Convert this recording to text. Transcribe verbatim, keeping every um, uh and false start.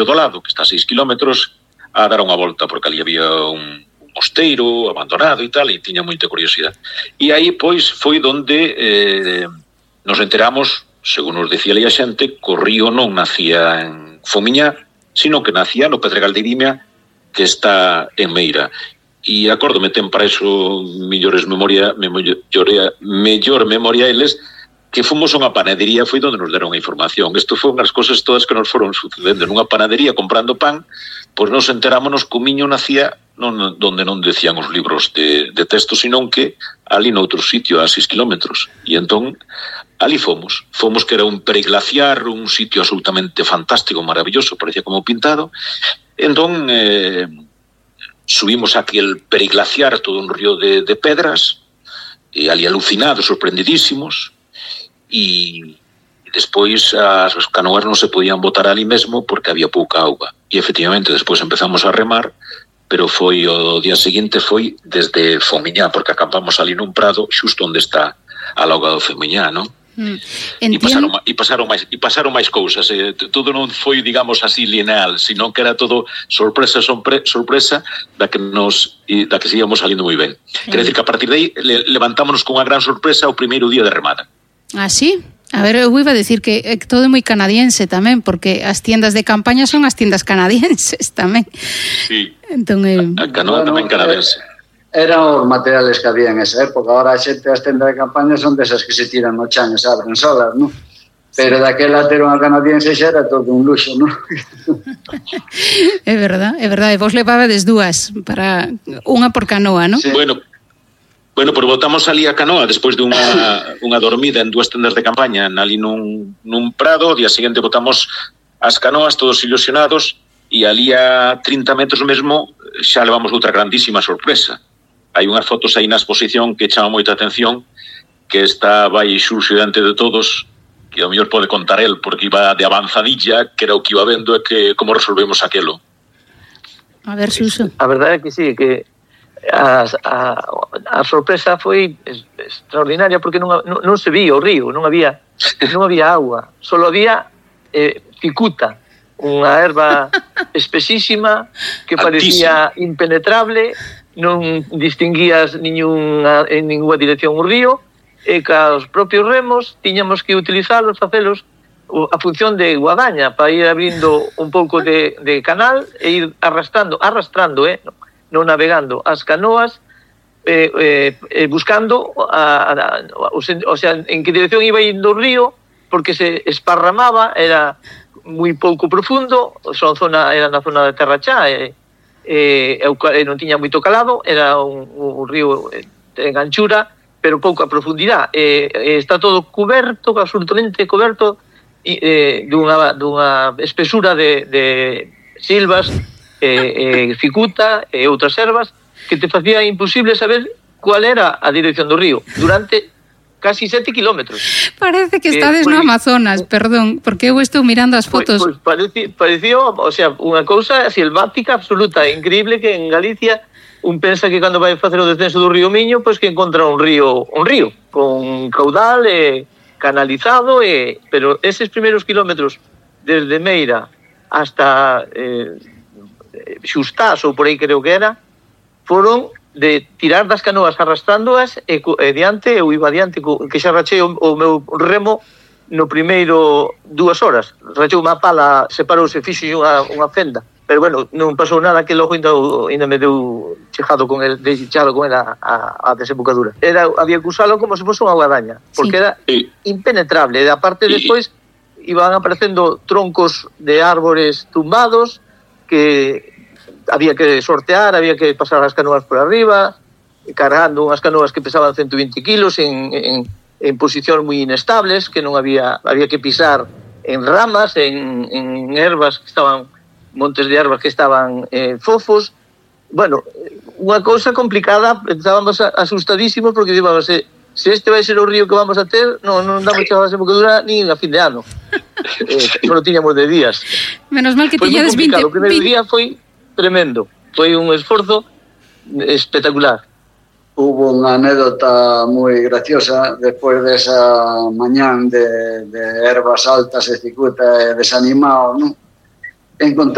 do lado, que está a seis kilómetros, a dar unha volta, porque ali había un mosteiro abandonado e tal, e tiña moita curiosidade. E aí, pois, foi donde eh, nos enteramos, según nos decía ali a xente, que o río non nacía en Fomiñá, sino que nacía no Pedregal de Irimia, que está en Meira. E acórdome, ten para eso mellores memoria, memoria, mellor memoria eles, que fomos a unha panadería, foi onde nos deron a información. Isto foi unhas cosas todas que nos foron sucedendo. Nunha panadería comprando pan, pois nos enterámonos que o miño nacía non, donde non decían os libros de, de texto, sino que ali noutro sitio, a seis kilómetros. E entón, ali fomos. Fomos que era un periglaciar, un sitio absolutamente fantástico, maravilloso, parecía como pintado. Entón, eh, subimos a aquel periglaciar, todo un río de, de pedras, e ali alucinados, sorprendidísimos, e despois as canoas non se podían botar ali mesmo porque había pouca auga. E efectivamente despois empezamos a remar, pero foi o día seguinte foi desde Fomiñá, porque acampamos ali nun prado xusto onde está a lauga do Fomiñá, non? Mm. E pasaron, e pasaron máis e pasaron máis cousas, eh, todo non foi, digamos así, lineal, sino que era todo sorpresa sorpre, sorpresa da que nos da que seguíamos salindo moi ben. Mm. Quer decir que a partir de aí le, levantámonos con unha gran sorpresa o primeiro día de remada. Ah, sí? A ver, eu iba a decir que é todo moi canadiense tamén, porque as tiendas de campaña son as tiendas canadienses tamén. Sí, entón, eh... a canoa bueno, tamén canadiense. Eran os materiales que había en esa época. Ahora a xente das tendas de campaña son desas que se tiran no chan e se abren solas, non? Pero daquela ter unha canadiense xa era todo un luxo, non? É verdad, é verdade. Vos levabades dúas, para unha por canoa, non? Sí. Bueno, Bueno, pois botamos ali a canoa despois de unha, unha dormida en dúas tendas de campaña ali nun, nun prado. O día seguinte botamos as canoas todos ilusionados e ali a trinta metros mesmo xa levamos outra grandísima sorpresa. Hai unhas fotos aí na exposición que chama moita atención, que está vai Xurxo diante de todos, que ao mellor pode contar el, porque iba de avanzadilla, que era o que iba vendo e que como resolvemos aquelo. A ver, Xurxo. A verdade é que sí, que A, a, a sorpresa foi extraordinaria porque non, non, non se vía o río, non había non había agua, só había eh, cicuta, unha erva espesísima que parecía Altísimo. impenetrable, non distinguías niñuna, en ninguna dirección o río, e ca os propios remos tiñamos que utilizalos, facelos a función de guadaña para ir abrindo un pouco de, de canal e ir arrastrando, arrastrando, eh, no. non navegando as canoas, eh, eh, buscando a, a, a, o, o sea, en que dirección iba indo o río, porque se esparramaba, era moi pouco profundo, son zona, era na zona de Terra Chá, e, e, e non tiña moito calado, era un, un río en anchura, pero pouco a profundidade, e, e está todo coberto, absolutamente coberto, e, e, dunha, dunha espesura de, de silvas, eh, eh, cicuta e outras ervas que te facía imposible saber cuál era a dirección do río durante casi sete kilómetros. Parece que estades eh, pues, no Amazonas, perdón, porque eu estou mirando as fotos. Pois pues, pues, pareció, o sea, unha cousa selvática absoluta, increíble, que en Galicia un pensa que cando vai facer o descenso do río Miño, pois pues, que encontra un río, un río con caudal e canalizado, e pero eses primeiros kilómetros desde Meira hasta eh, Xustás, ou por aí creo que era, foron de tirar das canoas arrastrándoas e, e diante, eu iba diante, que xa rachei o, o meu remo no primeiro dúas horas. Rachei unha pala, separouse, fixo unha, unha fenda. Pero bueno, non pasou nada, que logo ainda, ainda me deu chejado con el, chejado con el a, a, a desembocadura. Era, había que usalo como se fosse unha guadaña, porque sí. Era impenetrable. E aparte, despois, iban aparecendo troncos de árbores tumbados, que había que sortear, había que pasar as canoas por arriba, cargando unhas canoas que pesaban ciento veinte kilos en, en, en posicións moi inestables, que non había, había que pisar en ramas, en, en ervas que estaban, montes de ervas que estaban eh, fofos. Bueno, unha cousa complicada, estábamos asustadísimos porque dicíamos, se, se este vai ser o río que vamos a ter, non, non damos chavas de bocadura ni a fin de ano. Eh, non tiñamos de días. Menos mal que tiñades veinte... O primeiro día foi tremendo, foi un esforzo espectacular. Hubo unha anécdota moi graciosa despois desa mañán de, de ervas altas e cicuta e desanimado, non? encontrar